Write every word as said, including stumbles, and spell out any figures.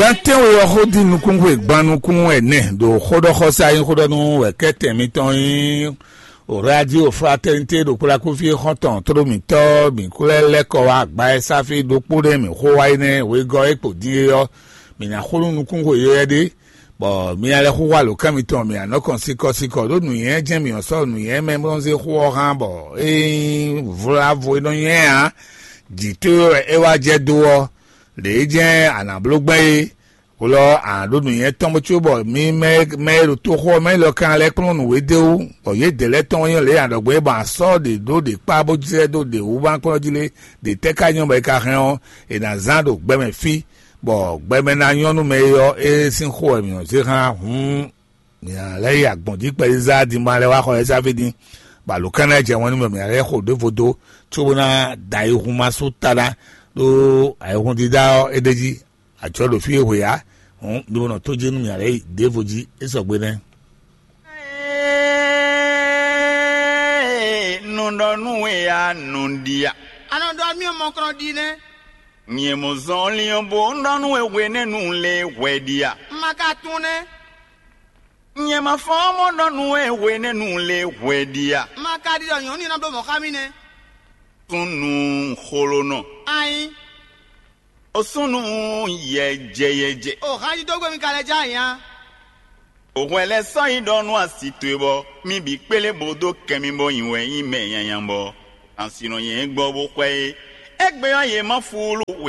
Gbantɛ́nwe ɔ́ xó dín nukúnxwe gban nukún ɛnɛ ɖo xóɖɔxɔsá nyí xóɖɔnú wɛ kɛ́tɛn mitɔn nyí Radio Fraternité ɖo kplákúfí xɔ́ntɔn tló mǐtɔn mǐ kú lɛ́ lɛ́ kɔ wá agba e sáfí ɖokpó ɖé mǐ xó wá é nɛ́. Wegɔ́ e kpo dín é ɔ́, mǐ ná xó nú nukúnxwe yɔ́yɔ́ ɖé, bɔ mi ná lɛ́ xúxú alǒkan mitɔn, mǐ ná nɔ kɔn sikɔsikɔ ɖó nǔnywɛ́ jɛ́n mǐ nɔ sɔ́ nǔnywɛ́ mɛ bó nɔ zé xó ɔ́ hán, bɔ é nyí vlavo e nɔ nywɛ́ ǎ. Jǐ towe wɛ é wá jɛ dó ɔ́, lě e jɛ́n a nǎ bló gbɛn é. Hwelɔ a nǎ ɖó nǔnywɛ́ tɔn bó có bɔ mi mɛ mɛ e ɖo toxo ɔ́ mɛ lɔ kan lɛ́ kplɔ́n nǔ we d'é wú, bɔ yědɛɛ lɛ́ɛ tɔn nyí lě e a nɔ ɖɔ gbɔn é bɔ a sɔ́ ɖě ɖó ɖě kpá bó jlɛ́ dó ɖě wú bó ná kplɔ́n jí lé. Ɖě tɛ́ ka nyɔ́ bɔ è ka hɛn ɔ́, è nǎ zán ɖo gbɛmɛ fí, bɔ gbɛmɛ ná nyɔ́ nú mɛ e ɔ́, é sín xó wɛ mǐ nɔ zé xlán. Hǔn mǐ ná lɛ́ yi agbɔ̌n jí kpɛɖé zá din ma lɛ́ wá xɔ ɛ sáfí din, bɔ alǒ kan ná jɛ wɛn nú mɛ mǐ ná lɛ́ xo ɖěvo dó, cóbó ná da ayihún ma sú ta ná, ɖó ayihún dídá ɔ́ é ɖ'é jí. Ajɔ ɖo fí e hwe ǎ, hǔn mi bo nɔ tó jí nú mì ǎ lɛ́ɛ yi ɖěvo jí é sɔgbe nɛ́. Nɔ ɖɔ nú we a nɔ ɖi a? A nɔ ɖɔ mì mɔkrɔn ɖi nɛ́. Nyɛ mɔ zɔnlin ɔ́ bo ɖɔ nú we hwenɛ́nu lě hwɛ ɖi a? Ma ka tunwun nɛ́. Nyɛ ma fɔ́n mɔ ɖɔ nú we hwenɛ́nu lě hwɛ ɖi a? Ma ka ɖi ɖɔ nyɔ̌nu ní ná bló mɔ̌ xá mì nɛ́. Súnnu xolonɔ. Ayin. O súnnu yɛjɛ yɛjɛ. O hán jí dó gbe mi ka lɛ já ayin a? O hwɛ lɛ́ sɔ́ yi ɖɔ nú asi towe bɔ mì bǐ kplé bó dó kɛ mi bɔ nyi wɛ nyí mɛ nyanya bɔ asi nɔ nyɛ gbɔ bó xwɛ é. Égbé ɔ́, yě má fúlú